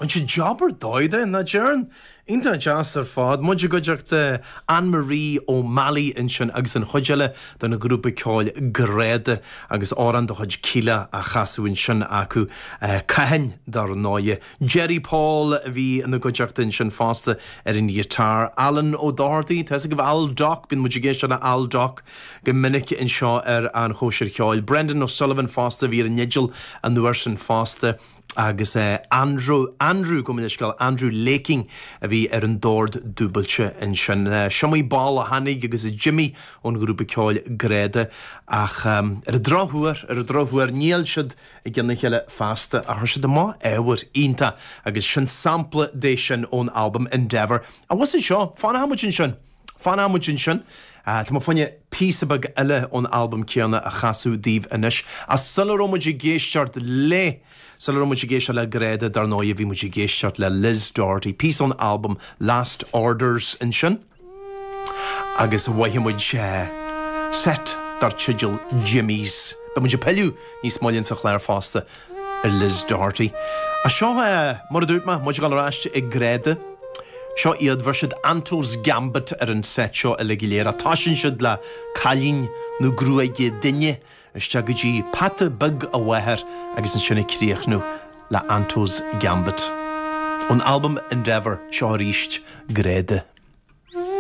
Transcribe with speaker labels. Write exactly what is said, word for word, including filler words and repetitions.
Speaker 1: An sé job ar dóigh de ná deireann Iontach deas ar fad, muid i gcuideachta Anne-Marie O'Malley ansin agus an chuid eile den ghrúpa ceoil Greda agus amhrán de chuid Kíla á chasadh ansin acu Cathain dar ndóigh. Jerry Paul a bhí ina gcuideachta ansin fosta ar an ghiotár. Alan Ó Dochartaigh, tá go Al Doc, bíonn muid ag éisteacht le Al Doc go minic anseo ar an chóisir cheoil. Brendan O'Sullivan fosta bhí ar an fhidil an uair sin fosta. agus uh, Andrew Andrew go leisceáil Andrew Laking a bhí ar an dord dúbailte ansin. Uh, Siomaí ball a tháinig agus a Jimmy ón ghrúpa ceoil Greda ach um, ar an drochuair ar an drochuair níl siad i gcionn a chéile feasta a chuir siad amach ábhar iontach agus sin sampla de sin ón albam Endeavour. A was seo fanfaimid ansin. Fanfaimid ansin. Uh, Tá fáinne píosa beag eile ón albam céanna a chasadh daoibh anois a sula raibh muid ag éisteacht le Sula raibh muid ag éisteacht le Greda dar ndóigh bhí muid ag éisteacht le Liz Doherty, píosa ón albam Last Orders ansin. Agus mhaith muid uh, set dar teideal Jimmy's. Beidh muid ag pilleadh níos moille sa chlár fosta ar Liz Doherty. A seo uh, mar a dúirt mé muid ag éisteacht le Greda. Seo iad bhí siad Anto's Gambit ar an set seo uile go léir a tosaíonn siad le cailín nó gruaige duine isteach go dtí peata beag a mháthar agus ansin ag críochnú le Anto's Gambit. Ón albam Endeavour seo arís Greda.